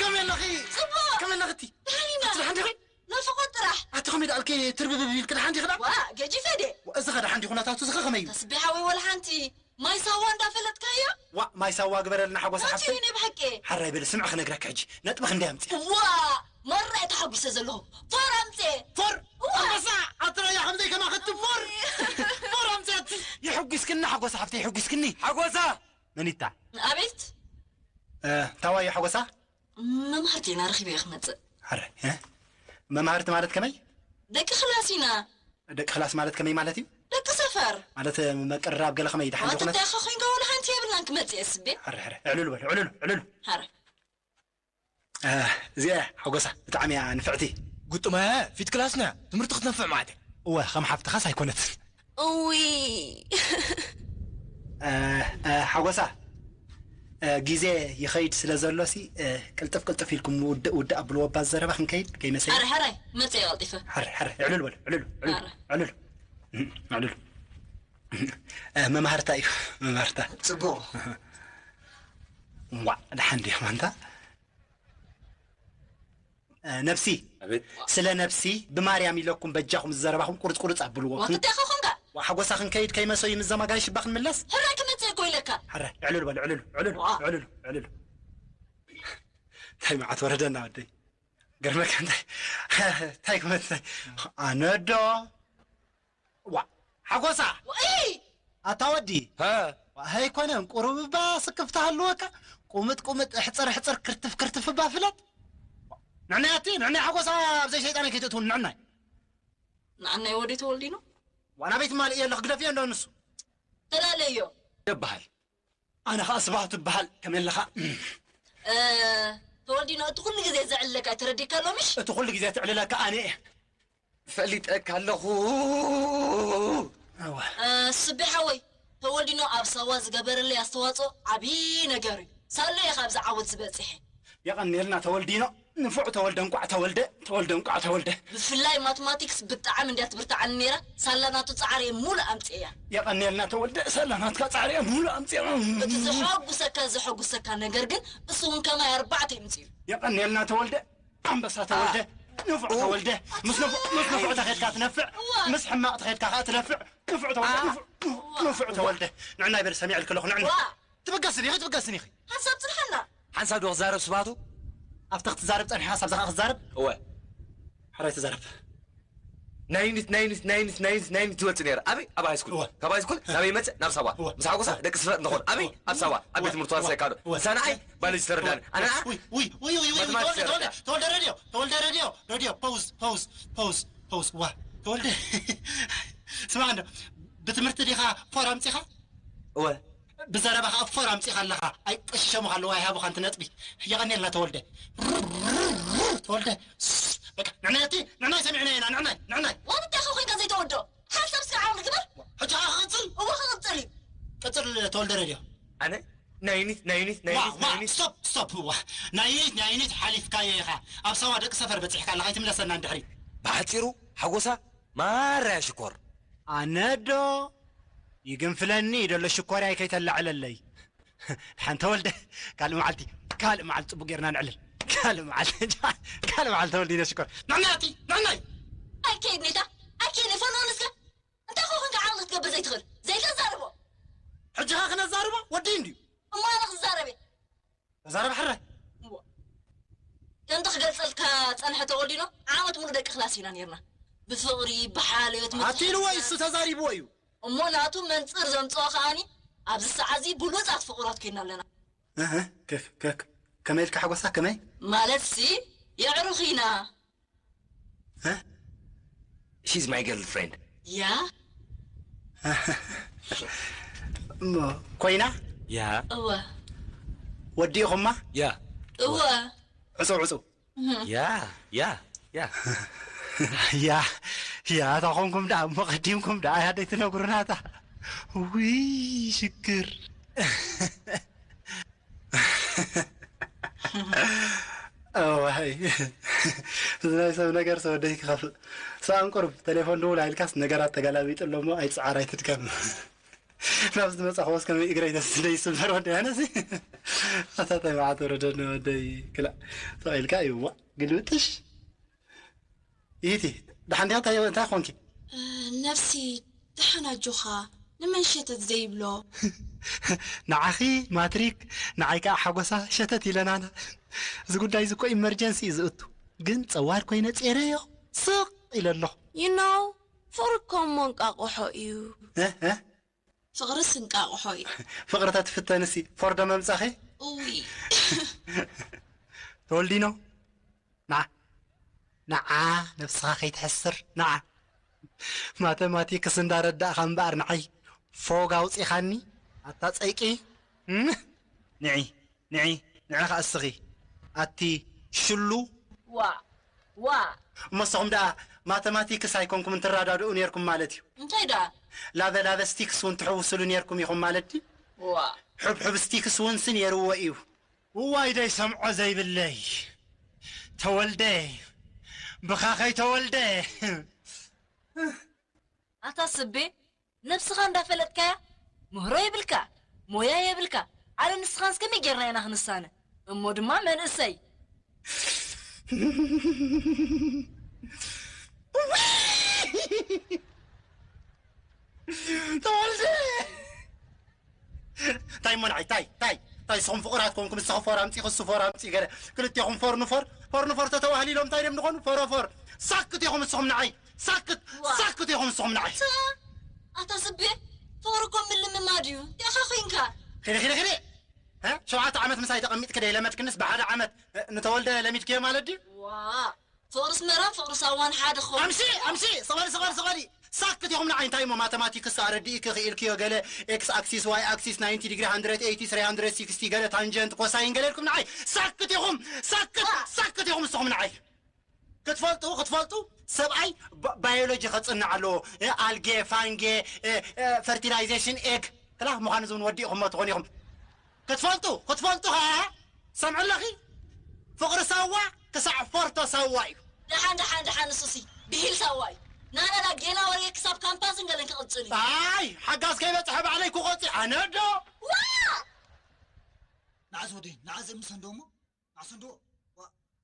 ከመይ ኣለኺ? ጽቡቕ። ከመይ ኣለኽቲ? ደሓን ኢና። ኣቲ ደሓን ዲኺ? ናፍቖት ጥራሕ። ኣቲ ከመይ ደኣልኪ ትርብብብ ኢልኪ ደሓን ዲኺ ደኣ? ዋ፣ ገጂፈ ድየ? ዋ፣ እዚ ኸ ደሓን ዲ ኩነታቱ እዚ ኸ ከመይ እዩ? ተስቢሓ ወይ ወላ ሓንቲ። ማይ ሳዋ እንዳፈለጥካዮ? ዋ፣ ማይ ሳዋ ግበረልና ሓጎስ ኣቲ ሓፍተይ። እኔ ብሓቂ። ሓራይ በሊ ስምዒ ክነግረኪ ሕጂ። ነጥቢ ክንደይ ኣምጺኣ? ዋ፣ መራ እየ ተሓጒሰ ዘለኹ። ፎር ኣምጺኤ። ፎር? ዋ። ኣንበሳ፣ ኣቲ ራያ ከምዘይ ከማኸቲ ፎር። ፎር ኣምጺኣቲ። የሕጒስክኒ ሓጎስ ሓፍተይ፣ የሕጒስክኒ። ሓጎሳ! መኒታ? ኣቤት። እ፣ ታዋይ ሓጎሳ? መምሃርቲ ኢና ረኺበ እየ ክመጽእ። ኣረ፣ እ? መምሃርቲ ማለት ከመይ? ደቂ ክላስ ኢና። ደቂ ክላስ ማለት ከመይ ማለት እዩ? ደቂ ሰፈር። ማለት፣ እ፣ መቅርራብ ገለ ከመይ ደሓን ማለት ዝኾነ? እንታይ ኸ ኮይንካ ወላ ሓንቲ የብልናን ክመጽእ እየ ስቤ። ኣረ፣ ኣረ፣ ዕልሉ በሉ፣ ዕልሉ፣ ዕልሉ። ኣረ። እ፣ እዚኣ ሓጎሳ ብጣዕሚ እያ ንፍዕቲ። ጉጥመ ፊት ክላስና ትምህርቲ ክትነፍዕ ማለት እያ። እወ፣ ከም ሓፍትኻስ ኣይኮነትን። እውይ። እ፣ እ፣ ሓጎሳ፣ እ፣ ግዜ ይኸይድ ስለ ዘሎሲ፣ እ፣ ቅልጥፍ ቅልጥፍ ኢልኩም ውድእ ውድእ ኣብልዎ፣ ባ ዘረባ ክንከይድ ከይመሰለ። ሕራይ፣ ሕራይ፣ መጽእ ቀልጢፈ። ሕራይ፣ ሕራይ፣ ዕልል በሉ፣ ዕልል፣ ዕልል፣ ሕራይ። ዕልል። እም፣ ዕልል። እ፣ መምሃርታ እዩ፣ መምሃርታ። ጽቡቕ። ዋዕ፣ ደሓን ድዮም ኣንታ? እ፣ ነብሲ፣ ኣቤት። ስለ ነብሲ ብማርያም ኢለኩም በጃኹም ዝዘረባኹም ቁርጽ ቁርጽ ኣብልዎ። ዋ፣ ክን-፣ እንታይ ኾንካ? ዋ፣ ሓጎሳ ክንከይድ ከይመሰዩ ምስ ዘማጋይ ሽባ ክንምለስ? ሕራይ ክመጽእ እኮ ኢለካ። ሕራይ፣ ዕልል በሉ፣ ዕልል፣ ዕልል፣ ዋ። ዕልል፣ ዕልል። እንታይ መዓት ወረደና ወደይ። ገርመካ እንታይ፣ እንታይ ክመጽእ? ኣነዶ። ዋ፣ ሓጎሳ! ወኢ! ኣታ ወዲ! ሃ! ዋ፣ ኣይኮነን፣ ቁሩብ እባ ስክፍታ ሃልወካ። ቁምጥ ቁምጥ፣ ሕጽር ሕጽር፣ ክርትፍ ክርትፍ እባ ፍለጥ። ንዕናይ ኣቲ፣ ንዕናይ ሓጎሳ ኣብ ዘይሸይጣን ከይትእትውን፣ ንዕናይ። ንዓናይ ወዲ ተወልዲኖ? ዋና ቤት ማልእ የለኽ፣ ግደፍዮ እንዶ ንሱ። ተላለዮ። ደበሃል። ኣነ ኸኣ ስብሃቱ እበሃል፣ ከመይ ኣለኻ? እ፣ ተወልዲኖ፣ እቲ ኩሉ ግዜ ዘዕልለካ ተረዲእካ ኣሎ፣ ምሽ? እቲ ኩሉ ግዜ ትዕልለካ ኣነ እየ። ፈሊጠካ ኣለኹ። እወ። እ፣ ስቤ ሓወይ፣ ተወልዲኖ ኣብ ሳዋ ዝገበረለይ ኣስተዋጽኦ ዓብዪ ነገር እዩ። ሳሎ እየ ካብዚ ዓወት ዝበጺሐ። የቐንየልና ተወልዲኖ። ንፉዕ ተወልደ፣ እንቋዕ ተወልደ፣ ተወልደ፣ እንቋዕ ተወልደ። ብፍላይ ማትማቲክስ ብጣዕሚ እንድያ ትብርትዓኒ ነይራ። ሳላ ናቱ ጻዕሪ እየ ሙሉእ ኣምጺኤያ። የቐንየልና ተወልደ፣ ሳላ ናትካ ጻዕሪ እየ ሙሉእ ኣምጺኤያ። እቲ ዘሐጉሰካ፣ ዘሐጉሰካ ነገር ግን እሱ እውን ከማይ ኣርባዕተ ይምጽኡ። የቐንየልና ተወልደ፣ ኣንበሳ ተወልደ፣ ኣ-፣ ንፉዕ ኡ-፣ ተወልደ። ምስ ንፉዕ፣ ምስ ንፉዕ ተኸድካ ትነፍዕ፣ እዋ። ምስ ሕማቕ ተኸድካ ኸኣ ትነፍዕ። ንፉዕ ተወልደ፣ ኣ-፣ ንፉዕ፣ እዋ። ንፉዕ ተወልደ። ንዕናይ በል ሰሚዐልኪ ኣለኹ፣ ንዕናይ። ዋ። ትብገስኒ ኢኺ፣ ትብገስኒ ኢኺ። ሓንሳብ ጽንሓና። ሓንሳብ ዶ ክዛረብ ስብሃቱ? ኣብቲ ክትዛረብ ጸኒሕካ፣ ሳብ ዝኻ ክዛረብ? እወ። ሕራይ ተዛረብ። ናይ ዩኒት፣ ናይ ዩኒት፣ ናይ ዩኒት፣ ናይ ዩኒት፣ ናይ ዩኒት ትወጽእ ነይራ። ኣበይ? ኣብ ሃይስኩል። እወ። ካብ ሃይስኩል እወ። ናበይ ይመጽእ? ናብ ሳዋ። እወ። ምስ ሓጎሳ እወ። ደቂ ስፈር እንኾን። ኣበይ? እወ። ኣብ ሳዋ። ኣብ እወ። ቤት ትምህርቲ ዋርሳይ እወ። ካዶ። እወ። ሰናይ ባዮሎጂ ተረዳኒ። ኣነ ኣ- ውይ፣ ውይ፣ ውይ፣ ውይ፣ ውይ፣ ማትማቲክስ ተወልደ፣ ተወልደ፣ ተረዳኒ። ተወልደ ረድዮ፣ ተወልደ ረድዮ፣ ረድዮ፣ ፖውዝ፣ ፖውዝ፣ ፖውዝ፣ ፖውዝ። ዋ፣ ተወልደ። ስማዕ እንዶ፣ ብትምህርቲ ዲኻ ፎር ኣምጺኻ? እወ። ብዘረባኻ ፎር ኣምጺኻ ኣለኻ። ኣይቀሽሸሙኻ ኣለዉ፣ ኣይሃቡኻን እቲ ነጥቢ። የቐንየልና ተወልደ። ተወልደ። በቃ፣ ንዕናይ ኣቲ፣ ንዕናይ ሰሚዕናዮ ኢና፣ ንዕናይ፣ ንዕናይ። ዋን እንታይ ኸ ኮይንካ ዘይተወዶ? ሓንሳብ እስከ ዓቕሊ ግበር። ሕጂ ኸዓ ክቕጽል? እወ፣ ክቕጽል እዩ። ቅጽል ተወልደ ረድዮ። ኣነ? ናይ ዩኒት፣ ናይ ዩኒት፣ ናይ ዋ፣ ዩኒት፣ ዋ፣ ናይ ዩኒት። ስቶፕ፣ ስቶፕ፣ ዋ። ናይ ዩኒት፣ ናይ ዩኒት ሓሊፍካዮ ኢኻ። ኣብ ሳዋ ደቂ ሰፈር በጺሕካ ኣለኻ፣ ኣይትምለሰና ንድሕሪት። ብሓጺሩ፣ ሓጎሳ ማራ እያ ሽኮር። ኣነ ዶ ይግንፍለኒ እዩ ደሎ ሽኮርያ ከይተላዕለለይ። ሓንቲ ተወልደ፣ ካልእ መዓልቲ፣ ካልእ መዓልቲ ጽቡቅ ጌርና ንዕልል። ካልእ መዓልቲ፣ ካልእ መዓልቲ ተወልደ ሽኮር። ንዕናይ ኣቲ፣ ንዕናይ! ኣይከይድ ኔታ፣ ኣይከይድ ኔታ፣ ፈኖን እስከ። እንታይ ኮ ኮንካ ዓቕሊ ክትገብር ዘይትኽእል? ዘይተዛርቦ። ሕጂ ኸ ክነዛርቦ? ወዲ እንድዩ። እሞ ኣነ ክዛረብ እየ። ተዛረብ ሕራይ። እሞ ከምቲ ክገልጸልካ ጸንሐ ተወልዲኖ፣ ዓመት ሙሉ ደቂ ክላስ ኢና ኔርና። ብፍቕሪ፣ ብሓልዮት፣ ኣቲ ኢልዎ እዩ፣ እሱ ተዛሪብዎ እዩ። እሞ ናቱ መንጽር ዘምጽኦ ከኣኒ፣ ኣብዚ ሰዓት እዚ ብሉጻት ፍቑራት ኮይና ኣለና። እህ፣ ከፍ-፣ ከ-፣ ከመይ ኢልካ ሓጎሳ፣ ከመይ? ማለትሲ፣ የዕሩኽ ኢና። እ? She's my girlfriend. ያ? እሞ ኮይና? ያ። እወ። ወዲእኹማ? ያ። እወ። ዕጹ፣ ዕጹ። እህ። ያ፣ ያ፣ ያ። ያ፣ ያ፣ እታ ኾንኩም ደኣ፣ እሞ ቀዲምኩም ደኣ፣ እያ ደይ ትነግሩና እታ። ውይ፣ ሽግር። እዋይ፣ እዚ ናይ ሰብ ነገር ሰብ ወደይ ክኸፍእ። ሰኣን ቁሩብ ቴሌፎን ድውል ኣይልካስ ነገራት ተገላቢጡ ኣሎ እሞ ኣይትጽዓር ኣይትድከም። ናብ ዝመጻኹ ወስ ከመይ እግረይ ተስደይ ይስበር ወደይ ኣነሲ። ኣታ ተባዕት ወረደኒ ወደይ ክላእ ተቐኢልካ እዩ እሞ ግልብጥሽ። ይህቲ ደሓን ዲኻ? እንታይ እንታይ ኾንኪ? ነብሲ ደሓን ኣጆኻ። ንመን ሸተት ዘይብሎ? ንዓኺ ማትሪክ ንዓይ ከዓ ሓጎሳ ሸተት ኢለናና። እዚ ጉዳይ እዚ እኮ ኢመርጀንሲ እዩ ዝእቱ። ግን ጸዋር ኮይነ ጼረዮ ስቕ ኢለ ኣለኹ። You know ፍቕሪ እኮ እሞ እንቃቕሖ እዩ። እ? እ? ፍቕርስ እንቃቕሖ እዩ። ፍቕሪ ተትፍተንሲ ፎርዶ መምጻኺ? እውይ ተወልዲኖ ንዓ ንዓ ነብስኻ ከይትሕስር ንዓ ማተማቲክስ እንዳረዳእኻ እምበኣር ንዓይ ፎግ ኣውፂኻኒ ኣታ ፀይቂ። እም? ንዒ ንዒ ንዒ ኸዓ እስኺ ኣቲ ሽሉ ዋ ዋ እሞ ንስኹም ደኣ ማተማቲክስ ኣይኮንኩም እንትራዳድኡ ነርኩም ማለት እዩ። እንታይ ደኣ ላበ ላበ ስቲክስ እውን ትሕውስሉ ነርኩም ኢኹም ማለት ድዩ? ዋ ሕብሕብ ስቲክስ እውን ሲ ነርዎ እዩ። እዋይ ደይ ሰምዖ ዘይብለይ ተወልደ ብኻኸይ ተወልደ ኣታ ስቤ ነብስኻ እንዳፈለጥካያ ምህሮ የብልካ ሞያ የብልካ ኣነ ንስኻንስ ከመይ ጌርና ኢና ክንሳነ እሞ ድማ መንእሰይ ተወልደ እንታይ እሞ ንዓይ ታይ ታይ ታይ ስኹም ፍቑራት ኮንኩም ንስኺ ፎር ኣምፂ ክሱ ፎር ኣምፂ ገለ ክልቴኹም ፎር ንፎር ፎር ንፎር ተተዋህሊሎም እንታይ ደም ንኾኑ ፎሮፎር ሳክት ኢኹም ንስኹም ንዓይ ሳክት ሳክት ኢኹም ንስኹም ንዓይ ኣታ ስቤ ፍቕሪ እኮ ምልምማድ እዩ ዲኻ ኮንካ ኺዲ ኺዲ ኺዲ ሸውዓተ ዓመት ምሳይ ተቐሚጥክ ደይ ለመድክንስ ብሓደ ዓመት ንተወልደ ለሚድክዮ ማለት ድዩ ዋ ፍቕሪ ስመራን ፍቕሪ ሳዋን ሓደ ክኸውን ኣምሲ ኣምሲ ስቐሊ ስቐሊ ስቐሊ ሳክት ኢኹም ንዓይ እንታይ እሞ ማተማቲክስ ኣረዲእክ ክኢልክዮ ገለ ኤክስ ኣክሲስ ዋይ ኣክሲስ ናይንቲ ዲግሪ ሃንድረድ ኤይቲ ስሪ ሃንድረድ ሲክስቲ ገለ ታንጀንት ኮሳይን ገለ ኢልኩም ንዓይ ሳክት ኢኹም ሳክት ሳክት ኢኹም ንስኹም ንዓይ ክትፈልጡ ክትፈልጡ ሰብኣይ ባዮሎጂ ከፅንዕ ኣለዎ ኣልጌ ፋንጌ ፈርቲላይዜሽን ኤግ ክላ ምዃኑ ዝውን ወዲእኹሞ ትኾኑ ኢኹም ክትፈልጡ ክትፈልጡ ኸዓ ሰምዑ ኣለኺ ፍቕሪ ሳዋ ክሳዕ ፎርቶ ሳዋ እዩ ደሓን ደሓን ደሓን ንሱሲ ብሂል ሳዋ እዩ ናናና ጌና ወርየ ክሳብ ካምፓስን ገለን ክቕፅል እዩ ኣይ ሓጋዝ ከይበፅሐ ባዕለይ ክቆፂ ኣነ ዶ ዋ ንዓስ ወደይ ንዓስ እምሰንዶ እሞ ንዓስ እንዶ